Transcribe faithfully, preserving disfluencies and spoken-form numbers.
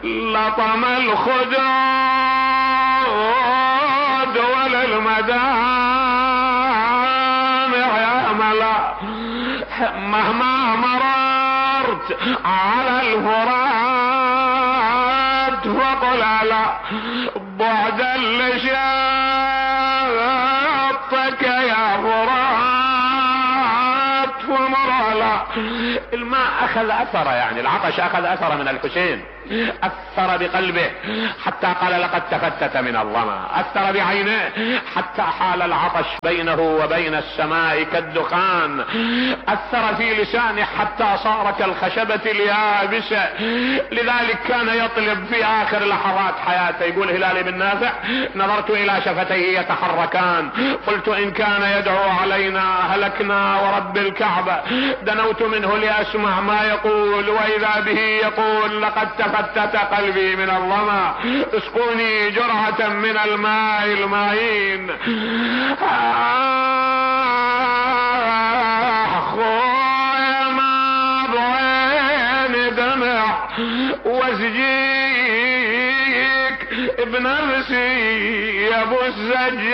لطم الخدود وللمدامع يا ملا، مهما مررت على الفرات فقل لا بعدا لشطك يا فرات ومرلا. الماء اخذ اثره، يعني العطش اخذ اثره من الحسين، اثر بقلبه حتى قال لقد تفتت من الظما، اثر بعينيه حتى حال العطش بينه وبين السماء كالدخان، اثر في لسانه حتى صار كالخشبة اليابسة. لذلك كان يطلب في اخر لحظات حياته، يقول هلال بن نافع: نظرت الى شفتيه يتحركان، قلت ان كان يدعو علينا هلكنا ورب الكعبة، دنوت منه لاسمع ما يقول، واذا به يقول: لقد تفتت قلبي من الظما، اسقوني جرعة من الماء المعين. اخويا ما بعين دمع واسجيك بنفسي يا ابو الزج